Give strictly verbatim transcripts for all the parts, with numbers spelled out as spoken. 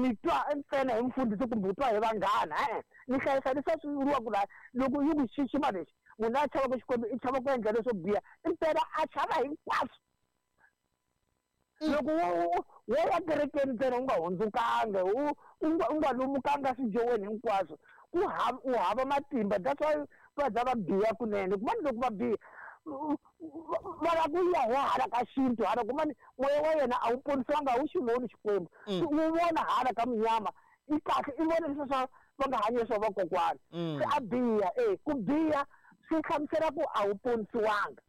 ni twa ntsena hi mfundhisi kumbe u twa hi vanghana e-e ni hlayisa leswi swi vuriwaka laha loko yi ku xixima lexi munhu a chavaka Xikwembu i chava ku endla leswo biha impela a chava hinkwaswo. Loko wo wo ya kerekeni ntsena u nga hundzukanga u u nga u nga lumukanga swijoweni hinkwaswo ku hava u hava matimba. That's why va za va biha kunene kumani loko va biha va lava ku ya hi hala ka xintu hala kumani moya wa yena a wu ponisiwanga a wu xi voni Xikwembu wu vona hala ka munyama i kahle i vona leswi swa va nga hanyi swa vakokwana se a biha e ku biha swi hlamusela ku a wu ponisiwanga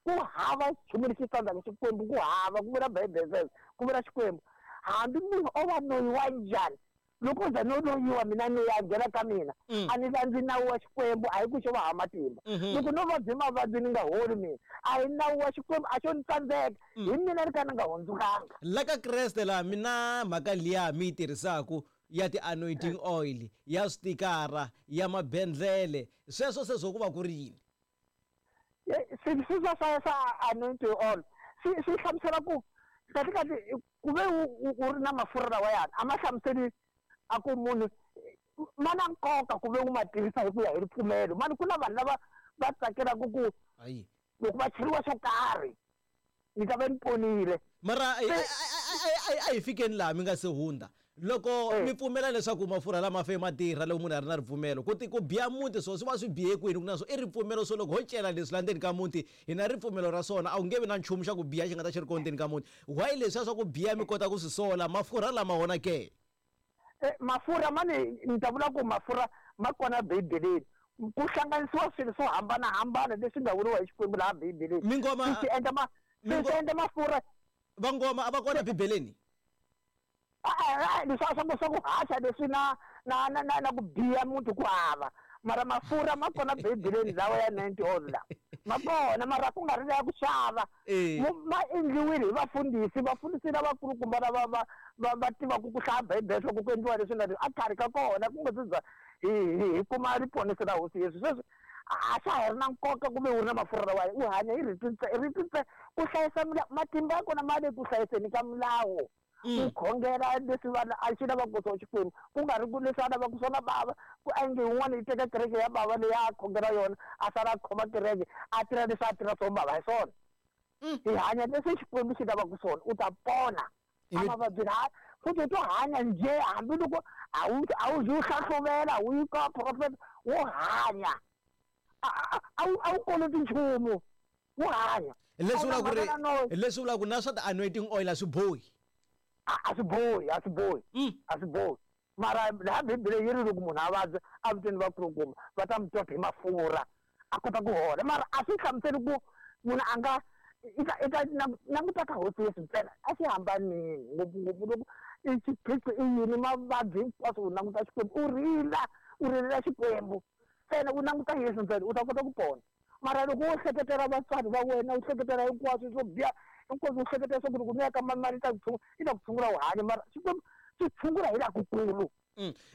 ku hava nchumu lexi tsandzaka Xikwembu ku hava ku vula Bibele ku vula Xikwembu hambi munhu o va noyi wa njhani loko u za no loyiwa mina ni ya nghena ka mina a ni landzi nawu wa Xikwembu a hi ku xo va hava matimba loko no vabyi mavabyi ni nga holi mina a hi nawu wa Xikwembu a xo ni tsandzeka hi mina ni ka ni nga hundzukanga. La ka Kreste laha mina mhaka liya mi yi tirhisaku ya ti-anointing oil ya switikara ya mabendlele sweswo se swo ku va ku ri yini? Swilo swa swa swa anointing oil swi swi hlamusela ku kahle kahle ku ve u ri na mafurha lawa yani a ma hlamuseli a ku munhu ma na nkoka ku ve u ma tirhisa hi ku ya hi ripfumelo mani ku na vanhu lava va tsakelaka ku loko va cheriwa swo karhi ni ta va ni ponile. Mara a hi fikeni laha mi nga se hundza loko mi pfumela leswaku mafurha lama fe ma tirha loko munhu a ri na ripfumelo ku ti ku biha muti swo swi va swi bihe kwini ku na swo i ripfumelo swo loko ho cela leswi la ndzeni ka muti hi na ripfumelo ra swona a wu nge vi na nchumu xa ku biha xi nga ta xi ri kona ndzeni ka muti why leswiya swa ku biha mi kota ku swi sola mafurha lama wona ke? Mafurha mani ni ta vula ku mafurha ma kona Bibeleni ku hlanganisiwa swilo swo hambanahambana leswi nga vuriwa hi Xikwembu laha Bibeleni mingoma swi endla ma swi endla mafurha vangoma a va kona Bibeleni a leswi swa ku swa ku haxa leswi na na na na na ku biha muti ku hava mara mafurha ma kona Bibeleni lawa ya ninety oil la ma kona mara ku nga ri ya ku xava ma endliwile hi vafundhisi vafundhisi lavakulukumba lava va va va tivaka ku hlaya Bibele swa ku ku endliwa leswi na leswi a khari ka kona ku nga se za hi hi kuma riponisi ra Hosi Yesu sweswi a swa ha ri na nkoka ku ve u ri na mafurha lawa u hanya hi rito rito ku hlayisa matimba ya kona ma le ku hlayiseni ka milawu ku khongela leswi vanhu a xi lavaka swo Xikwembu ku nga ri ku leswi a lavaka swona bava ku endle yin'wana yi teka kereke ya bava leyi a khongela yona a sala a khoma kereke a tirha leswi a tirha swo bava hi swona hi hanya leswi Xikwembu xi lavaka swona u ta pona a mavabyi la futhi u to hanya njhe hambiloko a wu a wu zi u hlahluvela wu yi ka profet wo hanya a wu a wu koloti nchumu wo hanya. Leswi vulaka ku ri leswi vulaka ku na swa ti-anointing oil a swi bohi a swi bohi a swi bohi a swi bohi mara laha Bibele yi ri loko munhu a vabya a viteni vakulukumba va ta mi tota hi mafurha a kota ku hola mara a swi hlamuseli ku munhu a nga i ta i ta languta ka Hosi Yesu ntsena a swi hambanini ngopfungopfu loko i xiphiqo i yini mavabyi hinkwaswo u languta Xikwembu u rila u rilela Xikwembu ntsena u languta Yesu ntsena u ta kota ku pona mara loko wo hleketela vatswari va wena u hleketela hinkwaswo swo biha hinkwaswo u hleketela swa ku loko mi ya ka mali yi ta ku tshungula yi ta ku tshungula u hanya mara Xikwembu xi tshungula hi laha kukulu.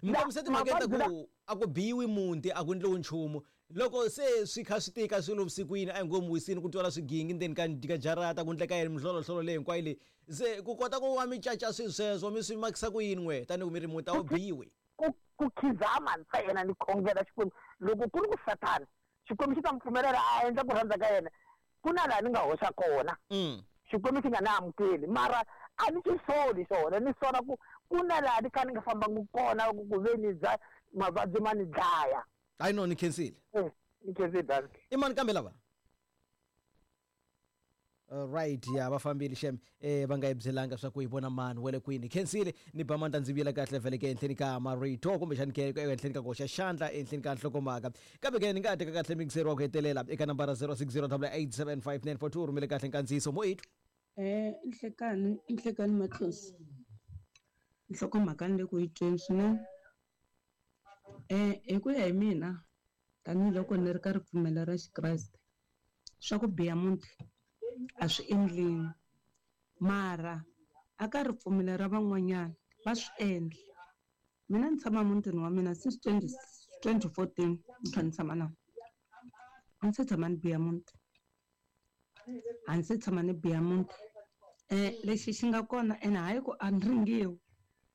Mi kombise timhaka ta ku a ku biwi muti a ku endliwi nchumu loko se swi kha swi tika swilo vusikwini a hi ngo mi wisini ku twala swigingi ndzeni ka ka jarata ku endleka yini mihlolohlola leyi hinkwayo leyi se ku kota ku va mi caca swilo sweswo mi swi makisa ku yini n'we tanihi ku mi ri muti a wu biwi ku ku khizama ntsena ni khongela Xikwembu loko ku ri ku Sathana Xikwembu xi ta mi pfumelela a endla ku rhandza ka yena ku na laha ni nga hoxa kona Xikwembu xi nga ni amukeli mara a ni xi soli xona ni sola ku ku na laha ni kha ni nga fambangi kona ku ku ve ni dya mavabyi ma ni dlaya. Hayi no ni khensile ni khensile danki. I mani kambe lava? Right ya va fambile xem eh va nga yi byelanga swa ku hi vona mani wa le kwini khensile ni ba mandla ndzi vuyela kahle vhele ke enhleni ka marito kumbexani ke enhleni ka koxa xandla enhleni ka nhlokomhaka kambe ke ni nga teka kahle mixer wa ku hetelela eka nambara zero six zero eight seven five nine four two rhumele kahle nkandziyiso mo eight. Eh nhlekani nhlekani Matlosi nhlokomhaka ni le ku yi tweni swinene eh hi ku ya hi mina tanihiloko ni ri ka ripfumelo ra Xikreste swa ku biha muti a swi endliwi mara a ka ripfumelo ra van'wanyana va swi endla. Mina ni tshama mutini wa mina since twenty fourteen ni kha ni tshama na a ni se tshama ni biha muti a ni se tshama ni biha muti eh lexi xi nga kona ene hayi ku a ni ringiwi